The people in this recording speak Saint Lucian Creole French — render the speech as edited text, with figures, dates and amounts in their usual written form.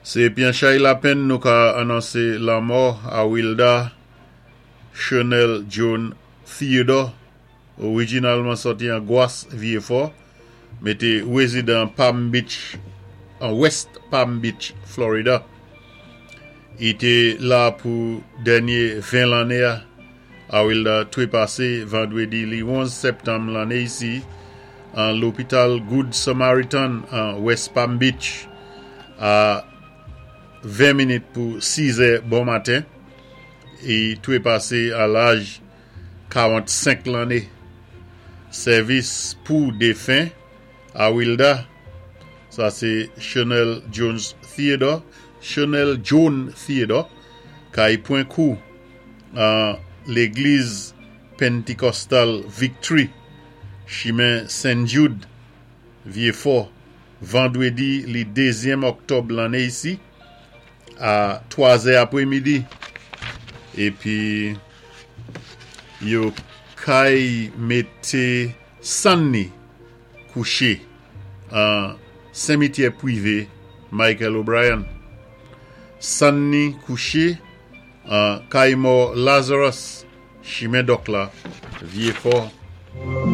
Sé pyan chay lapenn nou ka anonsé lanmò Awilda Chenel John Theodore, orijinalman sòti an Gwas Vyéfò, mé té wézidan Palm Beach, an West Palm Beach, Florida. I té la pou dènyé 20 lanné. Awilda twépasé vandwédi li 11 sèptanm lanné isi an lopital Good Samaritan an West Palm Beach a 20 minit pou 6 è bon maten. I twépasé a laj 45 lanné. Sèvis pou défen Awilda, sa sé Chanel Jones Theodore, Chanel John Theodore, kay pwan kou an légliz Pentecostal Victory, chimen St. Jude, Vyéfò, vandwédi li dézyèm òktòb lanné isi a 3 zè apwémidi. Épi yo kay mété sann ni kouché an simityè pwivé Michael O'Brien. Sann ni kouché an kay mò Lazarus, chimen Dòk la, Vyéfò.